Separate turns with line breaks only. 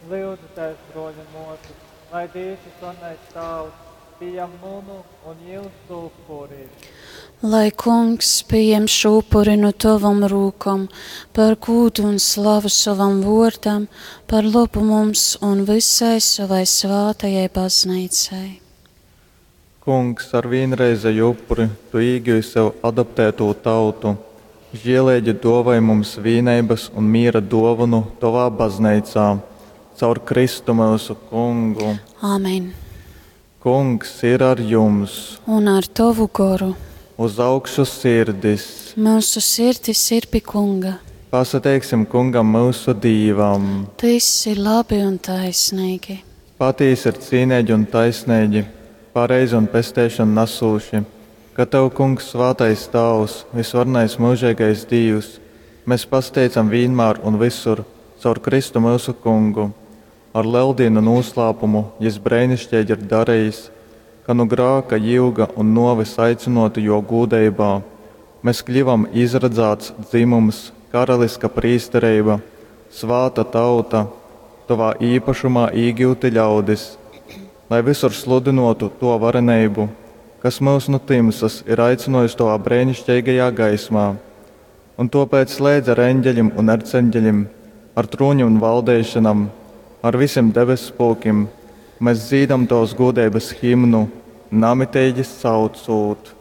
Lyudzitēs, brōļi un mōsas, lai Dīvs Vysvarenais Tāvs pījam munu un jūsu upuri.
Lai kungs pieņem šo upuri no tavam rūkom, par gūdu un slavu sovam vōrdam, par labu mums un visai savai svātajai baznīcai.
Kungs, ar vīnreizeju upuri tu īgyvi sev adoptētū tautu, žieleigi dōvoj mums vīneibas un mīra dōvonu tovā bazneicā. Caur Kristu myusu Kungu.
Āmen.
Kungs ir ar jums!
Un ar tovu goru.
Uz augšu sirdis!
Myusu sirdis ir pi Kunga.
Pasateiksim Kungam myusu Dīvam!
Tys ir labi un taisneigi.
Patīsi ir cīneigi un taisneigi, pareizi un pesteišonu nasūši, ka tev, Kungs, svātais Tāvs, vysvarenais myužeigais Dīvs, mes pasateicam vīnmār un vysur caur Kristu myusu Kungu. Ar Leldīnu nūslāpumu jys breiniškeigi ir darejis, ka nu grāka jyuga un nōves aicynōti jō gūdeibā, mes kļyvom izradzāts dzymums, karaliska prīstereiba, svāta tauta, tovā īpašumā īgyuti ļaudis, lai vysur sludynōtu tō vareneibu, kas myus nu tymsas ir aicynōjis tovā breiniškeigajā gaismā. Un tōpēc leidz ar eņgelim un erceņgelim, ar trūnim un valdeišonam, ar visim debesspulkim mes dzīdam tovas gūdeibas himnu, namiteigi saucūt.